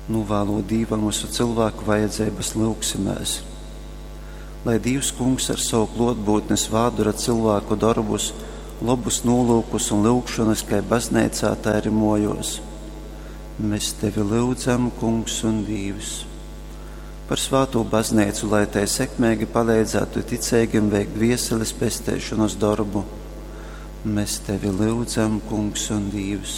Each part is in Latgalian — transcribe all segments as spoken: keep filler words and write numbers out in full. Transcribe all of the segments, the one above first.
Nūvālūt Dīvam visu cilvēku vajadzības, lūgsimēs. Lai Dīvs Kungs ar savu klōtbūtni svādura cilvēku dorbus, lobus nolūkus un lyugšonas kai bazneicā, tā arī mōjōs. Mēs tevi lyudzam, Kungs un Dīvs. Par svātū bazneicu, lai tai sekmeigi paleidzētu ticeigim veikt dvieseles pesteišonas dorbu. Mēs tevi lyudzam, Kungs un Dīvs.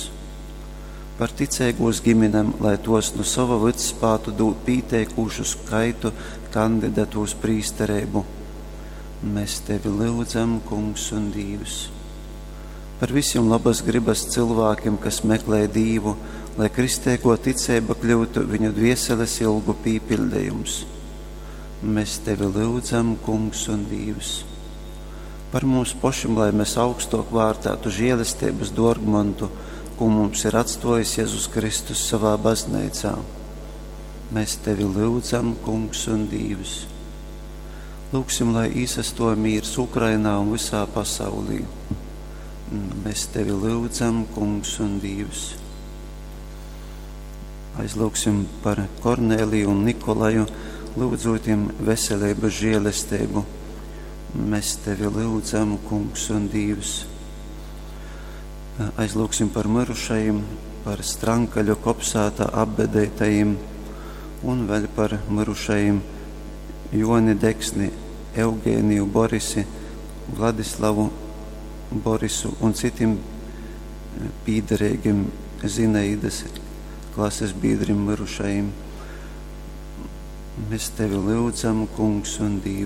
Par ticeigūs giminem, lai tos nu sova vyds spātu dūt pīteikūšu skaitu kandidatu uz prīstereibu. Mēs tevi lyudzam, Kungs un Dīvs. Par visiem labas gribas cilvēkiem, kas meklē Dīvu, lai kristīgo ticība kļūtu viņu dvieseles ilgu pīpildījums. Mēs tevi lyudzam, Kungs un Dīvs. Par mums pašiem, lai mēs augstok vārtētu žēlestības dārgmontu, ko mums ir atstājis Jēzus Kristus savā baznīcā. Mēs tevi lyudzam, Kungs un Dīvs. Lūksim, lai īsastoja mīrs Ukrainā un visā pasaulī. Mēs tevi lyudzam, Kungs un Dīvs. Aizlūgsim par Korneliju un Nikolaju, lūdzot viņiem veselības žēlestību. Mēs tevi lyudzam, Kungs un Dīvs. Aizlūgsim par mirušajiem, par Strankaļu kopsātā apbedētajiem un vēl par mirušajiem Joni Deksni, Eugēniju Borisi, Vladislavu Borisu un citiem pīderīgiem Zinaidas klases biedriem mirušajiem. Mēs tevi lūdzam, Kungs un Dīvs.